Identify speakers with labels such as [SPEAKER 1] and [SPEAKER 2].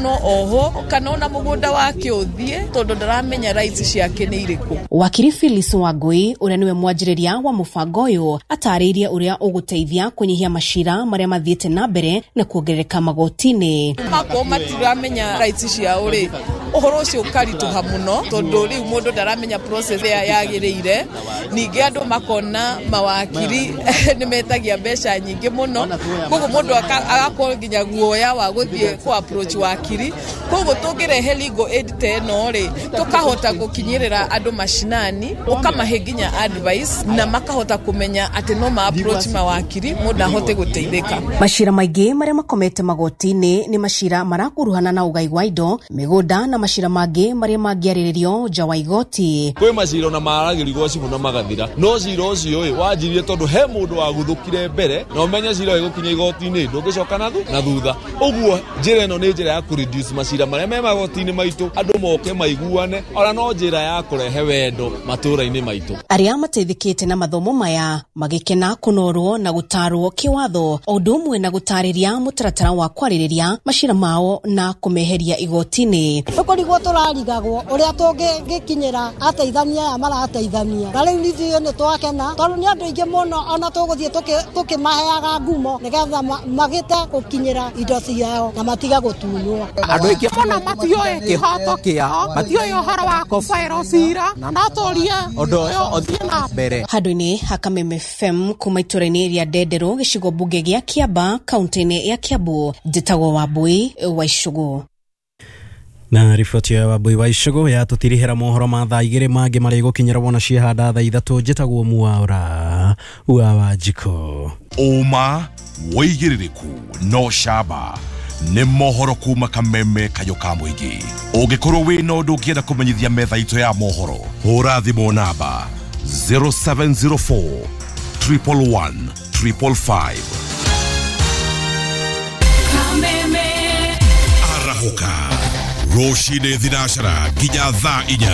[SPEAKER 1] No oho kana ona mũgũnda wake ũthiĩ tondũ ndaramenya rights ciake nĩ irĩkũ.
[SPEAKER 2] Wakiri Phyllis Wangui ũrĩa nĩwe mwanjĩrĩria wa mũbango ũyũ atarĩirie ũrĩa ũgũteithia kũnyihia macira marĩa mathiĩte na mbere na kuongerereka magoti-inĩ.
[SPEAKER 1] Makorwo matiramenya rights ciao rĩ, ũhoro ũcio ũkaritũha mũno tondũ rĩu mũndũ ndaramenya process ĩrĩa yagĩrĩire. Ningĩ andũ makona mawakiri nĩ metagia mbeca nyingĩ mũno, koguo mũndũ agakorwo nginya guoya wa gũthiĩ kũ approach wakiri. Koguo tũngĩrehe legal aid ta ĩno rĩ, tũkahota gũkinyĩrĩra andũ mashinani, ũkamahe nginya advice na makahota kũmenya atĩ no ma approach mawakiri mũndũ ahote gũteithĩka.
[SPEAKER 2] Macira maingĩ marĩa makomete magoti-inĩ nĩ macira marakuruhana na ũgai wa indo, mĩgũnda na macira mangĩ marĩa mangĩarĩrĩrio nja wa igoti.
[SPEAKER 3] Kwĩ macira ona maragĩrĩrio gwa cibũ na magathira, no cira ũcio ĩ wanjirie tondũ he mũndũ waguthũkire mbere na ũmenye cira ũgĩgũkinya igoti-inĩ ndũngĩcoka na thutha. Ũguo njĩra ĩno nĩ njĩra ya kũ reduce macira marĩa me magoti-inĩ maitũ, andũ moke maiguane, ona no njĩra ya kũrehe wendo matũũra-inĩ maitũ.
[SPEAKER 2] Arĩa mateithĩkĩte na mathomo maya magĩkena kũnorwo na gũtarwo kĩwatho o ũndũ ũmwe na gũtarĩria mũtaratara wa kwarĩrĩria macira mao na kũmeheria igoti-inĩ.
[SPEAKER 4] Tũkũrigwo tũrarigagwo ũrĩa tũngĩkinyĩra ateithania aya marateithania, na rĩu ithuĩ nĩ twakena tondũ nĩ andũ aingĩ mũno ona tũgũthiĩ tũkĩmaheaga ngumo nĩgetha magĩte gũkinyĩra indo ciao na matige gũtunywo.
[SPEAKER 5] Andũ aingĩ mũno matioĩ kĩhoto kĩao, matioĩ ũhoro wa kũbaĩrwo cira, na no tũrie ũndũ ũyũ ũthiĩ na mbere.
[SPEAKER 2] Handũ-inĩ ha Kameme FM kuma itũũra-inĩ rĩa Ndenderũ gĩcigo mbunge gĩa Kĩamba kaunti-inĩ ya Kiambu, njĩtagwo Wambui wa Icũgũ.
[SPEAKER 6] Na riboti ya Wambui wa Icũgũ yatũtirihĩra mohoro ma thaa igĩrĩ mangĩ marĩ gũkinyĩra wona ciehanda thaa ithatũ. Njĩtagwo Mwaura wa Wanjikũ.
[SPEAKER 7] Ũma wĩigĩrĩrĩku no camba nĩ mohoro kuma Kameme kayo ka mũingĩ. Ũngĩkorwo wĩna ũndũ ũngĩenda kũmenyithia metha itũ ya mohoro, hũra thimũ namba 0704 111 555. Arahũka rũcinĩ thinacara nginya thaa 4.